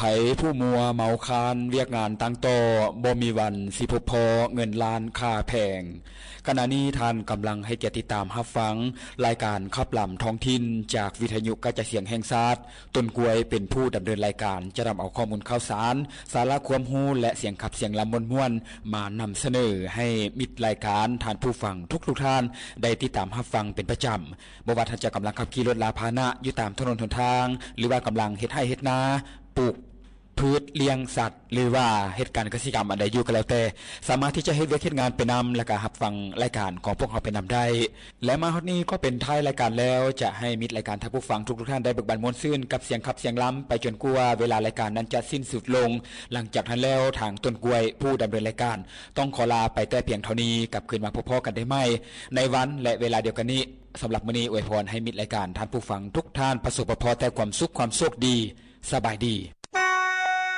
ໃຜຜູ້ມົວເມົາຄານວຽກງານຕັ້ງຕໍ່ ບໍ່ມີວັນຊິພົບພໍ້ເງິນລ້ານຄ່າແພງ. ຂະນະນີ້ທ່ານກຳລັງໃຫ້ກຽດຕິດຕາມຮັບຟັງລາຍການຂັບລຳທ້ອງຖິ່ນຈາກວິທະຍຸກະຈາຍສຽງແຫ່ງຊາດ. ຕົ້ນກ້ວຍເປັນຜູ້ດຳເນີນລາຍການ ຈະນຳເອົາຂໍ້ມູນຂ່າວສານ, ສາລະຄວາມຮູ້ ແລະ ສຽງຂັບສຽງລຳມ່ວນໆ ມານຳສະເໜີໃຫ້ມິດລາຍການ, ທ່ານຜູ້ຟັງທຸກໆທ່ານໄດ້ຕິດຕາມຮັບຟັງເປັນປະຈຳ. ບໍ່ວ່າທ່ານຈະກຳລັງຂັບຂີ່ລົດລາພາຫະນະຢູ່ຕາມຖະໜົນຫົນທາງ ຫຼືວ່າກຳລັງເຮັດໄຮ່ເຮັດນາ, ປູກພືດ, ລ້ຽງສັດ ຫຼືວ່າເຮັດການກະສິກຳອັນໃດຢູ່ກໍແລ້ວແຕ່, ສາມາດທີ່ຈະເຮັດວຽກເຮັດງານໄປນຳ ແລະ ກະຮັບຟັງລາຍການຂອງພວກເຮົາໄປນຳໄດ້. ແລະ ມາຮອດນີ້ກໍເປັນທ້າຍລາຍການແລ້ວ, ຈະໃຫ້ມິດລາຍການທ່ານຜູ້ຟັງທຸກໆທ່ານໄດ້ເບີກບານມ່ວນຊື່ນກັບສຽງຂັບສຽງລຳໄປຈົນກວ່າເວລາລາຍການນັ້ນຈະສິ້ນສຸດລົງ. ຫຼັງຈາກນັ້ນແລ້ວ ທາງຕົ້ນກ້ວຍຜູ້ດຳເນີນລາຍການຕ້ອງຂໍລາໄປແຕ່ພຽງເທົ່ານີ້, ກັບຄືນມາພົບພໍ້ກັນໄດ້ໃໝ່ໃນວັນ ແລະ ເວລາດຽວກັນນີ້. ສຳລັບມື້ນີ້ອວຍພອນໃຫ້ມິດລາຍການທ່ານຜູ້ຟັງທຸກທ່ານປະສົບປະພໍ້ແຕ່ຄວາມສຸກຄວາມໂຊກດີ. ສະບາຍດີ.